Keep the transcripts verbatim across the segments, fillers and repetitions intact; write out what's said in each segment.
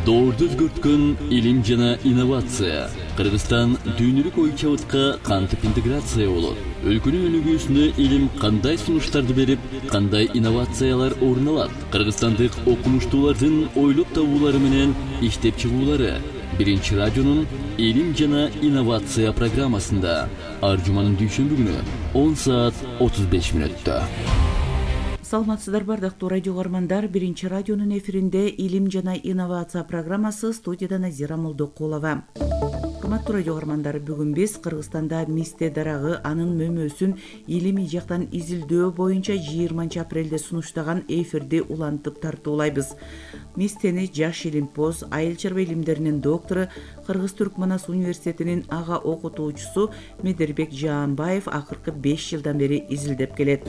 Доорду өзгөрткөн илим жана инновация. Кыргызстан дүйнөлүк ой чабытка кантип интеграция болот? Өлкөнүн өнүгүүсүнө илим кандай сунуштарды берип, кандай инновациялар орун алат? Кыргызстандык окумуштуулардын ойлоп табуулары менен иштеп чыгуулары Биринчи радионун илим жана инновация программасында ар жуманын дүйшөмбү күнү он саат отуз беш мүнөттө. Саламатсыздар бардыктуу радио көрөрмандар, Биринчи радионун эфиринде илим жана инновация программасы, студияда Назира Молдокулова. Урматтуу радио көрөрмандар, бүгүн биз Кыргызстанда мисте дарагы анын мөмөсүн илимий жактан изилдөө боюнча жыйырманчы апрелде сунуштаган эфирди улантып тартуулайбыз. Мистени жаш илимпоз, айыл чарба илимдеринин доктору, Кыргыз-Түркманас университетинин ага окутуучусу Медербек Жаанбаев акыркы беш жылдан бери изилдеп келет.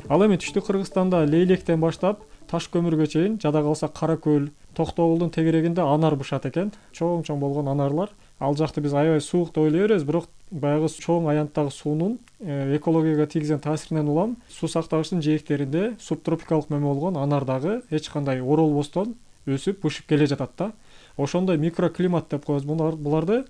Ал эми түштүк Кыргызстанда Лейлектен баштап Таш көмүргө чейин, жада калса Кара көл, Токтогулдун тегерегинде анар бышат экен. Чоң-чоң болгон анарлар. Ал жакты биз аябай суук деп ойлой беребиз, бирок баягы чоң аянттагы суунун экологияга тийгизген таасиринен улам суу сактагычтын жээктеринде субтропикалык мөмө болгон анар дагы эч кандай оролбостон өсүп, бышып келе жатат да. Ошондой микроклимат деп коебуз буларды.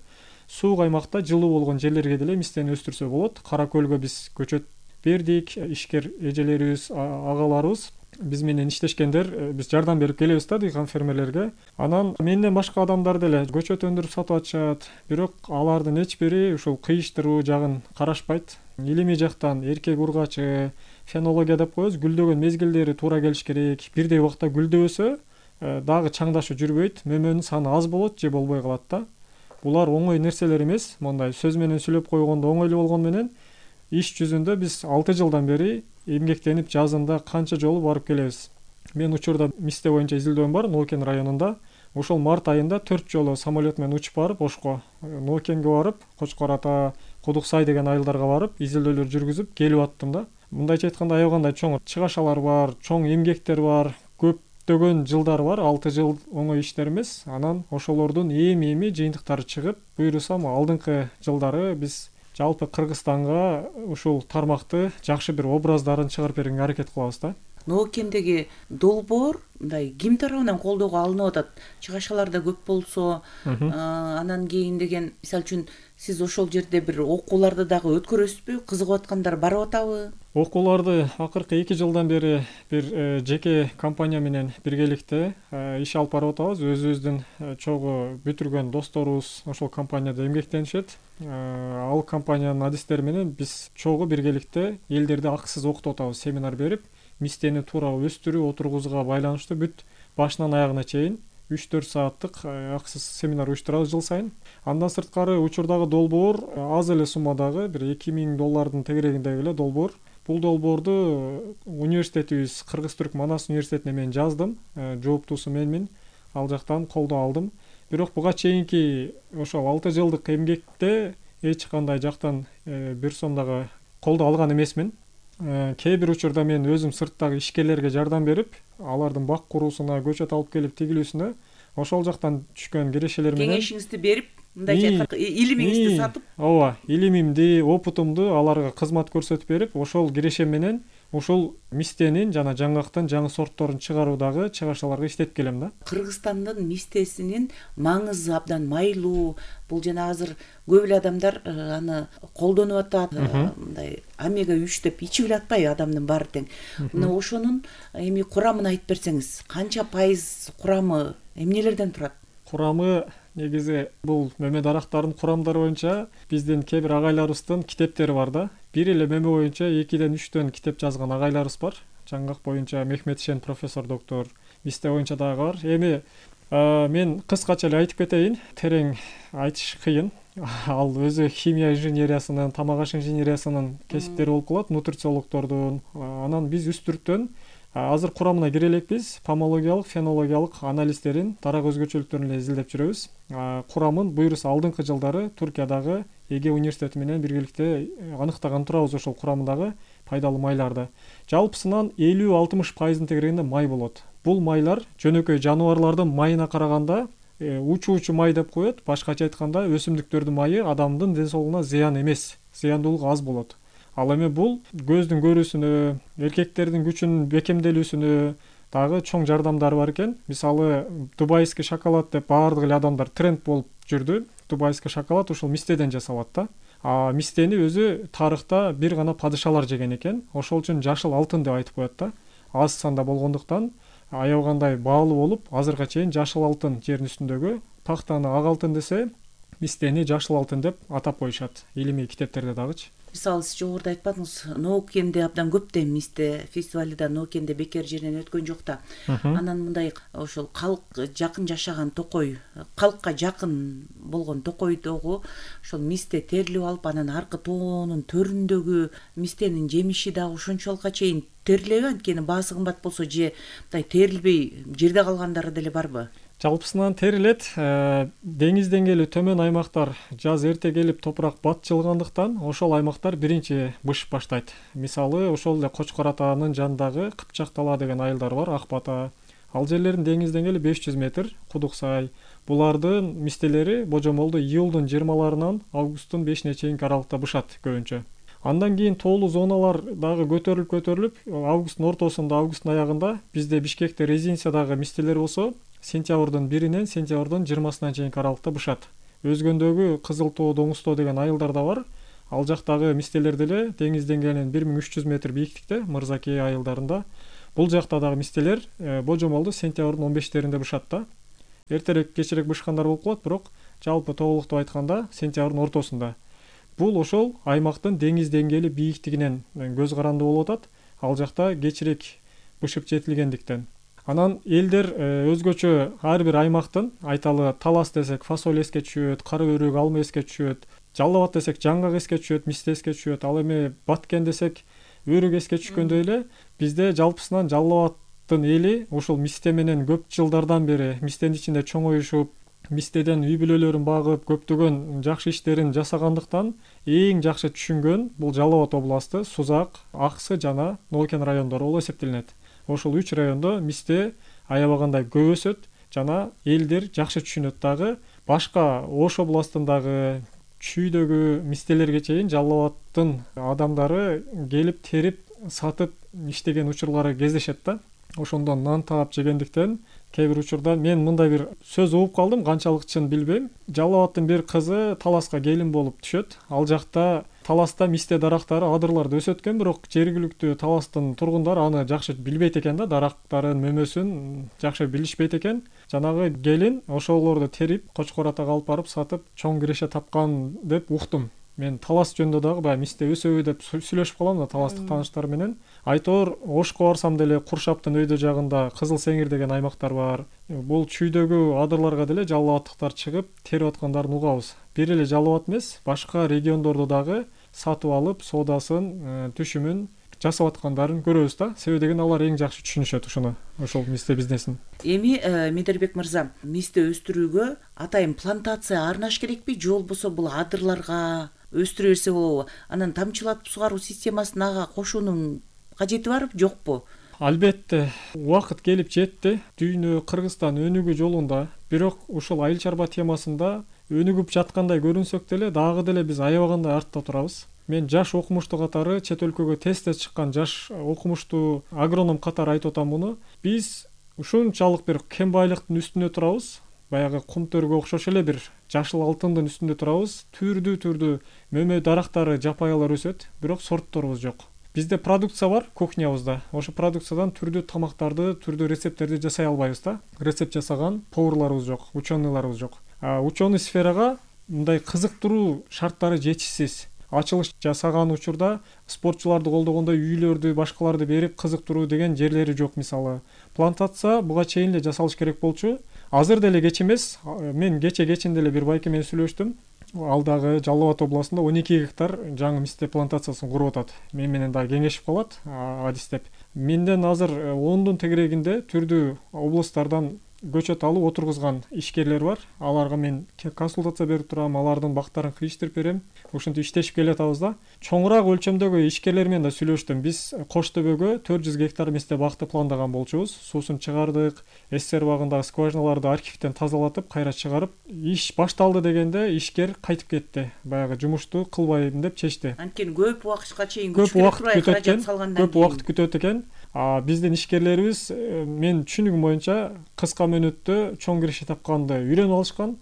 Суук аймакта жылуу болгон жерлерге деле мистени өстүрсө болот. Кара көлгө биз көчөт бердик, ишкер эжелерибиз, агаларыбыз биз менен иштешкендер, биз жардам берип келебиз да дыйкан фермерлерге. Анан менден башка адамдар деле көчөт өндүрүп сатып атышат, бирок алардын эч бири ушул кыйыштыруу жагын карашпайт. Илимий жактан эркек ургачы, фенология деп коебуз, гүлдөгөн мезгилдери туура келиш керек. Бирдей убакта гүлдөбөсө дагы чаңдашуу жүрбөйт, мөмөнүн саны аз болот же болбой калат да. Булар оңой нерселер эмес, мондай сөз менен сүйлөп койгондо оңойлуу болгону менен иш жүзүндө биз алты жылдан бери эмгектенип жазында канча жолу барып келебиз. Мен учурда мисте боюнча изилдөөм бар Нокен районунда. Ошол март айында төрт жолу самолет менен учуп барып, Ошко, Нокенге барып, Кочкор ата, Кудук Сай деген айылдарга барып, изилдөөлөр жүргүзүп келип аттым да. Мындайча айтканда аябагандай чоң чыгашалар бар, чоң эмгектер бар, көптөгөн жылдар бар, алты жыл оңой иштер эмес. Анан ошолордун эми-эми жыйынтыктары чыгып, буйрусам алдыңкы жылдары биз жалпы Кыргызстанга ушул тармакты жакшы бир образдарын чыгарып бергенге аракет кылабыз да. Ноокендеги долбоор мындай ким тарабынан колдоого алынып атат? Чыгашаларда көп болсо, анан кийин деген, мисалы үчүн сиз ошол жерде бир окууларды дагы өткөрөсүзбү? Кызыгып аткандар барып атабы? Окууларды акыркы эки жылдан бери бир жеке компания менен биргеликте иш алып барып атабыз. Өзүбүздүн чогуу бүтүргөн досторубуз ошол компанияда эмгектенишет. Ал компаниянын адистери менен биз чогуу биргеликте элдерди акысыз окутуп атабыз, семинар берип, мистени туура өстүрүү, отургузууга байланыштуу бүт башынан аягына чейин үч төрт сааттык акысыз семинар уюштурабыз жыл сайын. Андан сырткары учурдагы долбоор аз эле суммадагы бир эки миң доллардын тегерегиндеги эле долбоор. Бул долбоорду университетибиз Кыргыз-Түркманас университетине мен жаздым, жооптуусу менмин, ал жактан колдоо алдым. Бирок буга чейинки ошол алты жылдык эмгекте эч кандай жактан бир сом дагы колдоо алган эмесмин. Кээ бир учурда мен өзүм сырттагы ишкерлерге жардам берип, алардын бак куруусуна, көчөт алып келип тигилүүсүнө ошол жактан түшкөн кирешелер менен кеңешиңизди берип, мындайча айтканда илимиңизди сатып, ооба, илимимди, опутумду аларга кызмат көрсөтүп берип, ошол кирешем менен ушул мистенин жана жаңгактын жаңы сортторун чыгаруудагы чыгашаларга иштеп келем да. Кыргызстандын мистесинин маңызы абдан майлуу. Бул жана азыр көп эле адамдар аны колдонуп атат. Мындай омега үч деп ичип эле атпайбы адамдын баары тең. Мына ошонун эми курамын айтып берсеңиз, канча пайыз курамы эмнелерден турат? Курамы негизи бул мөмө дарактарынын курамдары боюнча биздин кээ бир агайларыбыздын китептери бар да. Бир эле мөмө боюнча экиден үчтөн китеп жазган агайларыбыз бар. Жаңгак боюнча Мехметшен профессор доктор, мисте боюнча дагы бар. Эми мен кыскача эле айтып кетейин, терең айтыш кыйын. Ал өзү химия инженериясынын, тамак аш инженериясынын кесиптери болуп калат, нутрициологдордун. Анан биз үстүрүктөн азыр курамына кире элекпиз, помологиялык, фенологиялык анализдерин, дарак өзгөчөлүктөрүн эле изилдеп жүрөбүз. Курамын буйруса алдыңкы жылдары Түркиядагы Эге университети менен биргеликте аныктаган турабыз ошол курамындагы пайдалуу майларды. Жалпысынан элүү алтымыш пайыздын тегерегинде май болот. Бул майлар жөнөкөй жаныбарлардын майына караганда учуучу май деп коет. Башкача айтканда өсүмдүктөрдүн майы адамдын ден соолугуна зыян эмес, зыяндуулугу аз болот. Ал эми бул көздүн көрүүсүнө, эркектердин күчүнүн бекемделүүсүнө, дагы чоң жардамдары бар экен. Мисалы дубайский шоколад деп баардык эле адамдар тренд болуп жүрдү. Дубайский шоколад ушул мистеден жасалат да. А мистени өзү тарыхта бир гана падышалар жеген экен. Ошол үчүн жашыл алтын деп айтып коет да. Аз санда болгондуктан аябагандай баалуу болуп, азыркыга чейин жашыл алтын жердин үстүндөгү, тактаны ак алтын десе, мистени жашыл алтын деп атап коюшат. Илимий китептерде дагычы. Мисалы сиз жогоруда айтпадыңыз, Ноокенде абдан көп да мисте фестивали да Ноокенде бекер жеринен өткөн жок да. Анан мындай ошол калк жакын жашаган токой, калкка жакын болгон токойдогу ошол мисте терилип алып, анан аркы тоонун төрүндөгү мистенин жемиши дагы ушунчалыкка чейин терилеби? Анткени баасы кымбат болсо же мындай терилбей жерде калгандары деле барбы? Жалпысынан терилет. Деңиз деңгээли төмөн аймактар жаз эрте келип топурак батчылгандыктан ошол аймактар биринчи бышып баштайт. Мисалы ошол эле Кочкор атаанын жанындагы Кыпчак тала деген айылдар бар, Ак Бата. Ал жерлердин деңиз деңгээли беш жүз метр, Кудук Сай. Булардын мистелери божомолду июлдун жыйырмаларынан августтун бешине чейинки аралыкта бышат көбүнчө. Андан кийин тоолуу зоналар дагы көтөрүлүп көтөрүлүп, августтун ортосунда, августтун аягында бизде Бишкекте резиденциядагы мистелер болсо, сентябрдын биринен сентябрдын жыйырмасына чейинки аралыкта бышат. Өзгөндөгү Кызыл Тоо, Доңуз Тоо деген айылдар да бар. Ал жактагы мистелер деле деңиз деңгээлинен бир миң үч жүз метр бийиктикте, Мырзакей айылдарында. Бул жакта дагы мистелер божомолду сентябрдын он бештеринде бышат да. Эртерээк, кечирээк бышкандар болуп калат, бирок жалпы тоголуктуу айтканда сентябрдын ортосунда. Бул ошол аймактын деңиз деңгээли бийиктигинен көз каранды болуп атат. Ал жакта кечирээк бышып жетилгендиктен. Анан элдер өзгөчө ар бир аймактын, айталы Талас десек фасоль эске түшөт, кара өрүк, алма эске түшөт, Жалал Абад десек жаңгак эске түшөт, мисте эске түшөт. Ал эми Баткен десек өрүк эске түшкөндөй эле бизде жалпысынан Жалал Абадтын эли ушул мисте менен көп жылдардан бери мистенин ичинде чоңоюшуп, мистеден үй бүлөлөрүн багып, көптөгөн жакшы иштерин жасагандыктан эң жакшы түшүнгөн бул Жалал Абад областы, Сузак, Аксы жана Ноокен райондору болуп эсептелинет. Ошол үч райондо мисте аябагандай көп өсөт жана элдер жакшы түшүнөт дагы. Башка Ош областындагы, Чүйдөгү мистелерге чейин Жалал Абадтын адамдары келип терип, сатып иштеген учурлары кездешет да. Ошондон нан таап жегендиктен кээ бир учурда мен мындай бир сөз угуп калдым, канчалык чын билбейм. Жалал Абадтын бир кызы Таласка келин болуп түшөт. Ал жакта Таласта мисте дарактары, адырларды өсөт экен, бирок жергиликтүү Таластын тургундары аны жакшы билбейт экен да, дарактарын, мөмөсүн жакшы билишпейт экен. Жанагы келин ошолорду терип, Кочкор атага алып барып сатып, чоң киреше тапкан деп уктум. Мен Талас жөнүндө дагы баягы мисте өсөбү деп сүйлөшүп калам да таластык тааныштар менен. Айтор Ошко барсам деле Куршаптын өйдө жагында Кызыл Сеңир деген аймактар бар. Бул Чүйдөгү адырларга деле Жалал Абадтыктар чыгып терип аткандарын угабыз. Бир эле Жалал Абад эмес, башка региондордо дагы сатып алып, соодасын, түшүмүн жасап аткандарын көрөбүз да. Себеби деген алар эң жакшы түшүнүшөт ушуну, ошол мисте бизнесин. Эми Медербек мырза, мисте өстүрүүгө атайын плантация арнаш керекпи, же болбосо бул адырларга өстүрө берсе болобу? Анан тамчылатып сугаруу системасын ага кошуунун кажети барбы, жокпу? Албетте, убакыт келип жетти. Дүйнө Кыргызстан өнүгүү жолунда, бирок ушул айыл чарба темасында өнүгүп жаткандай көрүнсөк деле, дагы деле биз аябагандай артта турабыз. Мен жаш окумуштуу катары, чет өлкөгө тез-тез чыккан жаш окумуштуу агроном катары айтып атам муну. Биз ушунчалык бир кем байлыктын үстүнө турабыз. Баягы кум төргө окшош эле бир жашыл алтындын үстүндө турабыз. Түрдүү-түрдүү мөмө дарактары, жапайылар өсөт, бирок сортторубуз жок. Бизде продукция бар кухнябызда. Ошо продукциядан түрдүү тамактарды, түрдүү рецепттерди жасай албайбыз да. Рецепт жасаган поварларыбыз жок, ученыйларыбыз жок. А ученый сферага мындай кызыктыруу шарттары жетишсиз. Ачылыш жасаган учурда спортчуларды колдогондой үйлөрдү, башкаларды берип кызыктыруу деген жерлери жок мисалы. Плантация буга чейин эле жасалыш керек болчу. Азыр деле кеч эмес. Мен кече кечинде эле бир байке менен сүйлөштүм. Ал дагы Жалал Абад областында он эки гектар жаңы мисте плантациясын куруп атат. Мен менен дагы кеңешип калат, адистеп. Менден азыр ондун тегерегинде түрдүү областтардан көчөт алып отургузган ишкерлер бар. Аларга мен консультация берип турам, алардын бактарын кыйыштырып берем. Ошентип иштешип келатабыз да. Чоңураак өлчөмдөгү ишкерлер менен да сүйлөштүм. Биз Кош Төбөгө төрт жүз гектар мисте бакты пландаган болчубуз. Суусун чыгардык, СССР багындагы скважиналарды архивден тазалатып, кайра чыгарып, иш башталды дегенде ишкер кайтып кетти. Баягы жумушту кылбайм деп чечти. Анткени көп убакытка чейин күч керек турбай, каражат салгандан кийин. Көп убакыт күтөт экен. А биздин ишкерлерибиз мен түшүнүгүм боюнча кыска мөөнөттө чоң киреше тапканды үйрөнүп алышкан.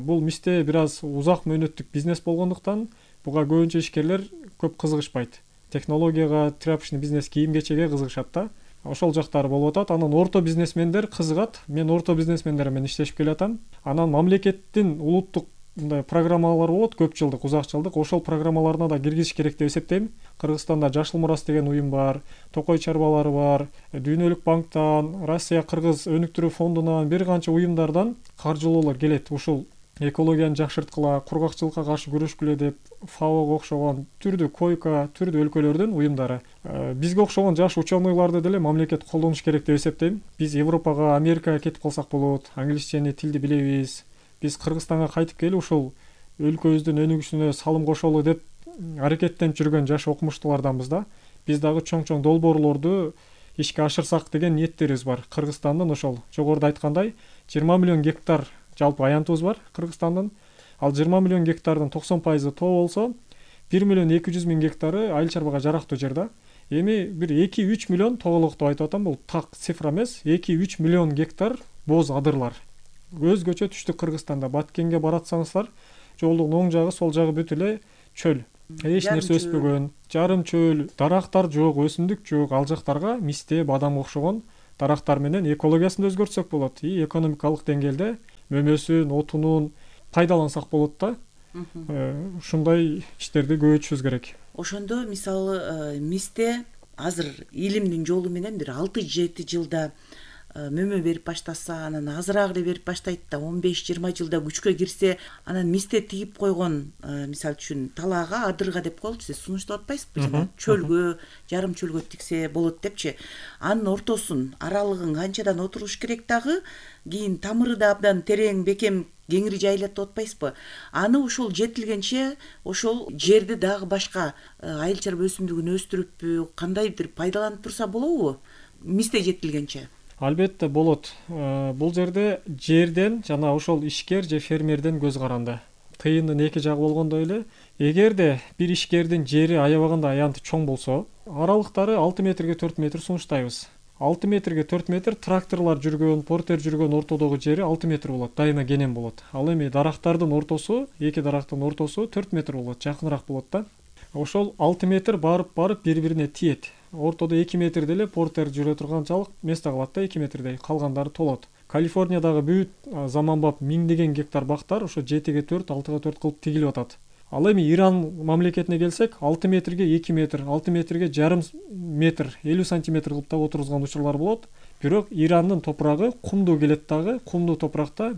Бул мисте бир аз узак мөөнөттүк бизнес болгондуктан буга көбүнчө ишкерлер көп кызыгышпайт. Технологияга, тряпочный бизнес, кийим кечеге кызыгышат да. Ошол жактары болуп атат. Анан орто бизнесмендер кызыгат. Мен орто бизнесмендер менен иштешип келатам. Анан мамлекеттин улуттук мындай программалар болот, көп жылдык, узак жылдык. Ошол программаларына да киргизиш керек деп эсептейм. Кыргызстанда Жашыл Мурас деген уюм бар, Токой чарбалары бар, Дүйнөлүк банктан, Россия Кыргыз өнүктүрүү фондунан бир канча уюмдардан каржылоолор келет. Ушул экологияны жакшырткыла, кургакчылыкка каршы күрөшкүлө деп фаого окшогон түрдүү койка, түрдүү өлкөлөрдүн уюмдары. Бизге окшогон жаш ученыйларды деле мамлекет колдонуш керек деп эсептейм. Биз Европага, Америкага кетип калсак болот, англисчени тилди билебиз. Биз Кыргызстанга кайтып келип ушул өлкөбүздүн өнүгүшүнө салым кошолу деп аракеттенип жүргөн жаш окумуштууларданбыз да. Биз дагы чоң-чоң долбоорлорду ишке ашырсак деген ниеттерибиз бар. Кыргызстандын ошол жогоруда айткандай жыйырма миллион гектар жалпы аянтыбыз бар Кыргызстандын. Ал жыйырма миллион гектардын токсон пайызы тоо болсо, бир миллион эки жүз миң гектары айыл чарбага жарактуу жер да. Эми бир эки үч миллион тоголок деп айтып атам, бул так цифра эмес. эки үч миллион гектар боз адырлар. Өзгөчө түштүк Кыргызстанда Баткенге баратсаңыздар, жолдун оң жагы, сол жагы бүт эле чөл. Эч нерсе өспөгөн, жарым чөл, дарактар жок, өсүмдүк жок. Ал жактарга мисте, бадам окшогон дарактар менен экологиясын өзгөртсөк болот. И экономикалык деңгээлде мөмөсүн, отунун пайдалансак болот да. Ушундай иштерди көбөйтүшүбүз керек. Ошондо мисалы мисте азыр илимдин жолу менен бир алты жети жылда мөмө берип баштаса, анан азыраак эле берип баштайт да, он беш жыйырма жылда күчкө кирсе, анан мисте тигип койгон, мисалы үчүн талаага, адырга деп коелучу, сиз сунуштап атпайсызбы? Жана чөлгө, жарым чөлгө тиксе болот депчи. Анын ортосун, аралыгын канчадан отуруш керек дагы, кийин тамыры да абдан терең, бекем, кеңири жайылат деп атпайсызбы? Аны ошол жетилгенче ошол жерди дагы башка айыл чарба өсүмдүгүн өстүрүппү, кандайдыр пайдаланып турса болобу? Мисте жетилгенче. Албетте болот. Бул жерде жерден жана ошол ишкер же фермерден көз каранды. Тыйындын эки жагы болгондой эле, эгерде бир ишкердин жери аябаганда аянты чоң болсо, аралыктары алты метрге төрт метр сунуштайбыз. алты метрге төрт метр тракторлор жүргөн, портер жүргөн ортодогу жери алты метр болот, дайыма кенен болот. Ал эми дарактардын ортосу, эки дарактын ортосу төрт метр болот, жакыныраак болот да. Ошол алты метр барып-барып бири-бирине тиет. Ортодо эки метр деле портер жүрө турганчалык место калат да, эки метрдей, калгандары толот. Калифорниядагы бүт заманбап миңдеген гектар бактар ошо жетиге төрт, алтыга төрт кылып тигилип атат. Ал эми Иран мамлекетине келсек, алты метрге эки метр, алты метрге жарым метр, элүү сантиметр кылып да отургузган учурлар болот. Бирок Ирандын топурагы кумдуу келет дагы, кумдуу топуракта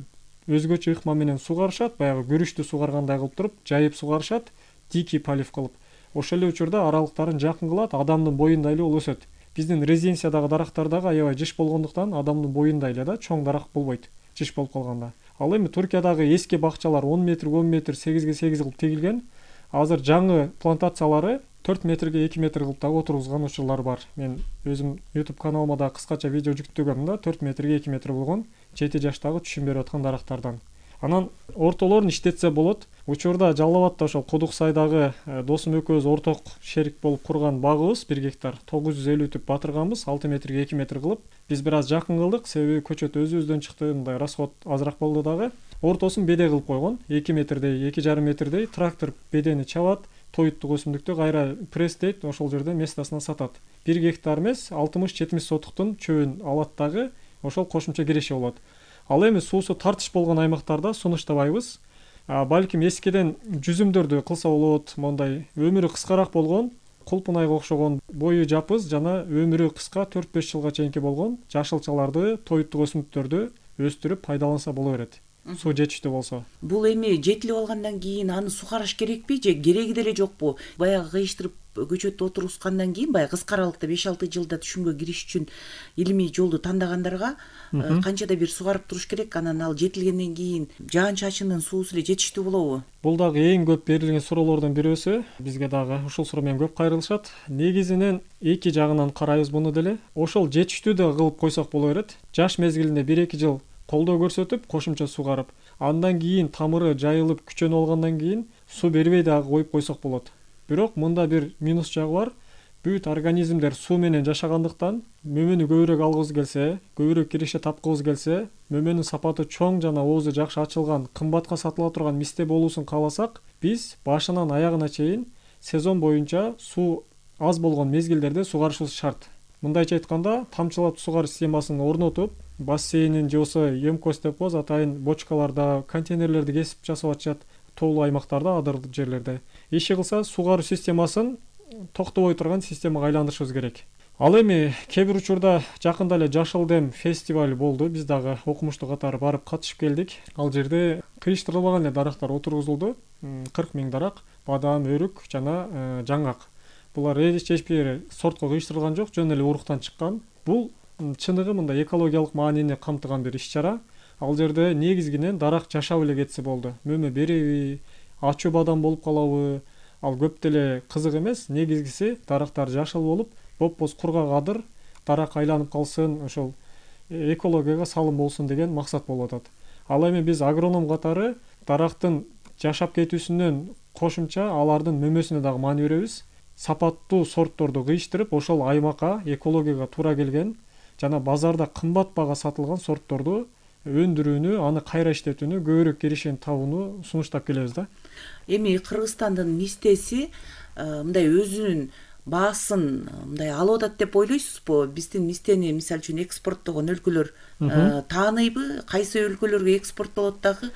өзгөчө ыкма менен сугарышат, баягы күрүчтү сугаргандай кылып туруп, жайып сугарышат, дикий полив кылып. Ошол эле учурда аралыктарын жакын кылат, адамдын боюндай эле болуп өсөт. Биздин резиденциядагы дарактар дагы аябай жыш болгондуктан адамдын боюндай эле да, чоң дарак болбойт, жыш болуп калганда. Ал эми Туркиядагы эски бакчалар он метр, он метр, сегизге сегиз кылып тигилген. Азыр жаңы плантациялары төрт метрге эки метр кылып дагы отургузган учурлар бар. Мен өзүм YouTube каналыма да кыскача видео жүктөгөм да, төрт метрге эки метр болгон жети жаштагы түшүм берип аткан дарактардан. Анан ортолорун иштетсе болот. Учурда Жалал Абадта ошол Кудук сайдагы досум экөөбүз орток шерик болуп курган багыбыз бир гектар тогуз жүз элүү түп батырганбыз, алты метрге эки метр кылып. Биз бир аз жакын кылдык, себеби көчөт өзүбүздөн чыкты, мындай расход азыраак болду дагы. Ортосун беде кылып койгон, эки метрдей, эки жарым метрдей трактор бедени чабат, тоюттук өсүмдүктү кайра пресстейт, ошол жерде местасына сатат. бир гектар эмес, алтымыш жетимиш сотуктун чөбүн алат дагы, ошол кошумча киреше болот. Ал эми суусу тартыш болгон аймактарда сунуштабайбыз. Балким эскиден жүзүмдөрдү кылса болот, мондай өмүрү кыскараак болгон, кулпунайга окшогон бою жапыз жана өмүрү кыска төрт беш жылга чейинки болгон жашылчаларды, тоюттук өсүмдүктөрдү өстүрүп пайдаланса боло берет. Суу жетиштүү болсо. Бул эми жетилип алгандан кийин аны сугарыш керекпи же кереги деле жокпу? Баягы кыйыштырып көчөттү отургузгандан кийин баягы кыска аралыкта беш алты жылда түшүмгө кириш үчүн илимий жолду тандагандарга канчада бир сугарып туруш керек, анан ал жетилгенден кийин жаан-чачындын суусу эле жетиштүү болобу? Бул дагы эң көп берилген суроолордун бирөөсү. Бизге дагы ушул суроо менен көп кайрылышат. Негизинен эки жагынан карайбыз муну деле. Ошол жетиштүү да кылып койсок боло берет. Жаш мезгилинде бир эки жыл колдоо көрсөтүп, кошумча сугарып, андан кийин тамыры жайылып, күчөнүп алгандан кийин суу бербей дагы коюп койсок болот. Бирок мында бир минус жагы бар. бүт организмдер суу менен жашагандыктан мөмөнү көбүрөөк алгыбыз келсе, көбүрөөк киреше тапкыбыз келсе, мөмөнүн сапаты чоң жана оозу жакшы ачылган, кымбатка сатыла турган мисте болуусун кааласак, биз башынан аягына чейин сезон боюнча суу аз болгон мезгилдерде сугарышыбыз шарт. Мындайча айтканда, тамчылап сугарыш системасын орнотуп, бассейнин же болбосо емкость деп коебуз, атайын бочкаларда, контейнерлерди кесип жасап атышат тоолуу аймактарда, адыр жерлерде. Иши кылса, сугаруу системасын токтобой турган системага айландырышыбыз керек. Ал эми кээ бир учурда жакында эле Жашыл дем фестиваль болду. Биз дагы окумуштуу катары барып катышып келдик. Ал жерде кыйыштырылбаган эле дарактар отургузулду. кырк миң дарак, бадам, өрүк жана жаңгак. Булар эч бир сортко кыйыштырылган жок, жөн эле уруктан чыккан. Бул чыныгы мындай экологиялык маанини камтыган бир иш-чара. Ал жерде негизгинен дарак жашап эле кетсе болду. Мөмө береби, ачуу бадам болуп калабы, ал көп деле кызык эмес. Негизгиси дарактар жашыл болуп, бопбоз кургак адыр, дарак айланып калсын, ошол экологияга салым болсун деген максат болуп атат. Ал эми биз агроном катары дарактын жашап кетүүсүнөн кошумча алардын мөмөсүнө дагы маани беребиз. Сапаттуу сортторду кыйыштырып, ошол аймакка, экологияга туура келген жана базарда кымбат бага сатылган сортторду өндүрүүнү, аны кайра иштетүүнү, көбүрөөк кирешени табууну сунуштап келебиз да. Эми Кыргызстандын мистеси мындай өзүнүн баасын мындай алып атат деп ойлойсузбу? Биздин мистени мисалы үчүн экспорттогон өлкөлөр тааныйбы? Кайсы өлкөлөргө экспорттолот дагы?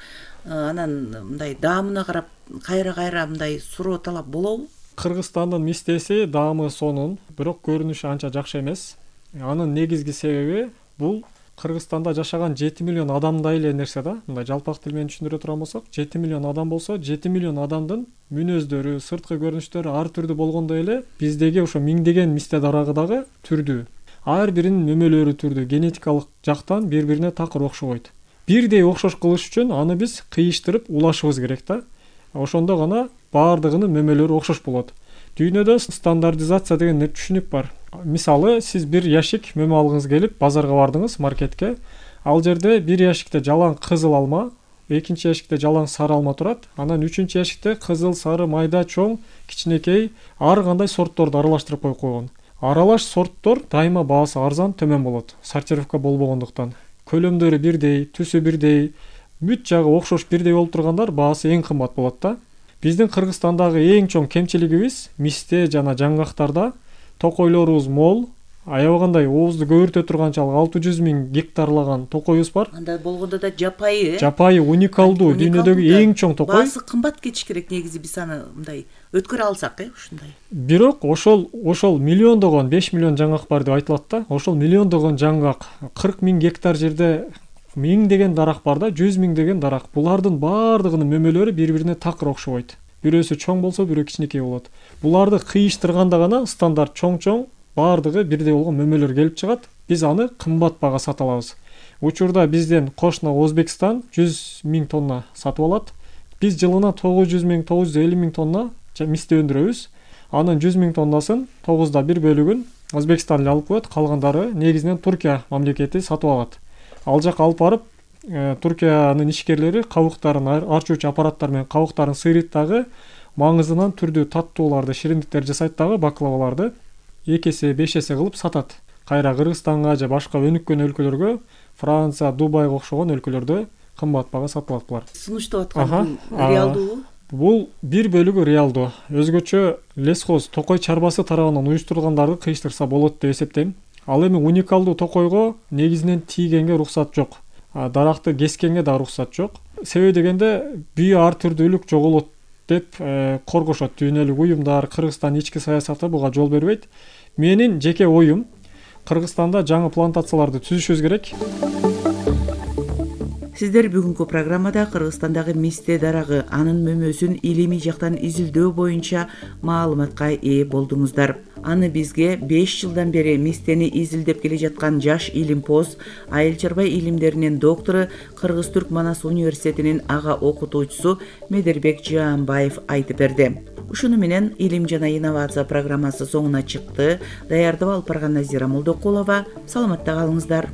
Анан мындай даамына карап кайра-кайра мындай суроо талап болобу? Кыргызстандын мистеси даамы сонун, бирок көрүнүшү анча жакшы эмес. Анын негизги себеби бул Кыргызстанда жашаган жети миллион адамдай эле нерсе да. Мындай жалпак тил менен түшүндүрө турган болсок, жети миллион адам болсо, жети миллион адамдын мүнөздөрү, сырткы көрүнүштөрү ар түрдүү болгондой эле биздеги ошо миңдеген мисте дарагы дагы түрдүү. Ар биринин мөмөлөрү түрдүү, генетикалык жактан бири-бирине такыр окшобойт. Бирдей окшош кылыш үчүн аны биз кыйыштырып улашыбыз керек да. Ошондо гана баардыгынын мөмөлөрү окшош болот. Дүйнөдө стандартизация деген түшүнүк бар. Мисалы, сиз бир яшик мөмө алгыңыз келип, базарга бардыңыз, маркетке. Ал жерде бир яшикте жалаң кызыл алма, экинчи яшикте жалаң сары алма турат. Анан үчүнчү яшикте кызыл, сары, майда, чоң, кичинекей ар кандай сортторду аралаштырып коюп койгон. Аралаш сорттор дайыма баасы арзан, төмөн болот. Сортировка болбогондуктан. Көлөмдөрү бирдей, түсү бирдей, бүт жагы окшош бирдей болуп тургандар баасы эң кымбат болот да. Биздин Кыргызстандагы эң чоң кемчилигибиз мисте жана жаңгактарда токойлорубуз мол, аябагандай оозду көбүртө турганчалык алты жүз миң гектарлаган токойубуз бар. Анда болгондо да жапайы, э? Жапайы уникалдуу, дүйнөдөгү эң чоң токой. Баасы кымбат кетиш керек негизи биз аны мындай өткөрө алсак, э, ушундай. Бирок ошол ошол миллиондогон, беш миллион жаңгак бар деп айтылат да. Ошол миллиондогон жаңгак, кырк миң гектар жерде миңдеген дарак бар да, жүз миңдеген дарак. Булардын баардыгынын мөмөлөрү бири-бирине такыр окшобойт. Бирөөсү чоң болсо, бирөө кичинекей болот. Буларды кыйыштырганда гана стандарт чоң-чоң баардыгы бирдей болгон мөмөлөр келип чыгат. Биз аны кымбат бага сатып алабыз. Учурда бизден кошуна Өзбекстан жүз миң тонна сатып алат. Биз жылына тогуз жүз миң, тогуз жүз элүү миң тонна мисте өндүрөбүз. Анын жүз миң тоннасын тогузда бир бөлүгүн Өзбекстан эле алып коет, калгандары негизинен Туркия мамлекети сатып алат. Ал жака алып барып, Туркиянын ишкерлери кабыктарын арчуучу аппараттар менен кабыктарын сыйрыйт дагы, маңызынан түрдүү таттууларды, шириндиктер жасайт дагы, баклаваларды эки эсе, беш эсе кылып сатат. Кайра Кыргызстанга же башка өнүккөн өлкөлөргө, Франция, Дубайга окшогон өлкөлөрдө кымбат бага сатылат булар. Сунуштап аткан реалдуу? Бул бир бөлүгү реалдуу. Өзгөчө лесхоз токой чарбасы тарабынан уюштурулгандарды кыйыштырса болот деп эсептейм. Ал эми уникалдуу токойго негизинен тийгенге уруксат жок. Даракты кескенге да уруксат жок. Себеби дегенде бүйү ар түрдүүлүк жоголот деп коргошот дүйнөлүк уюмдар. Кыргызстан ички саясаты буга жол бербейт. Менин жеке оюм, Кыргызстанда жаңы плантацияларды түзүшүбүз керек. Сиздер бүгүнкү программада Кыргызстандагы мисте дарагы, анын мөмөсүн илимий жактан изилдөө боюнча маалыматка ээ болдуңуздар. Аны бизге беш жылдан бери мистени изилдеп келе жаткан жаш илимпоз, айыл чарба илимдеринин доктору, Кыргыз-Түрк Манас университетинин ага окутуучусу Медербек Жаанбаев айтып берди. Ушуну менен Илим жана инновация программасы соңуна чыкты. Даярдап алып барган Назира Молдокулова. Саламатта калыңыздар.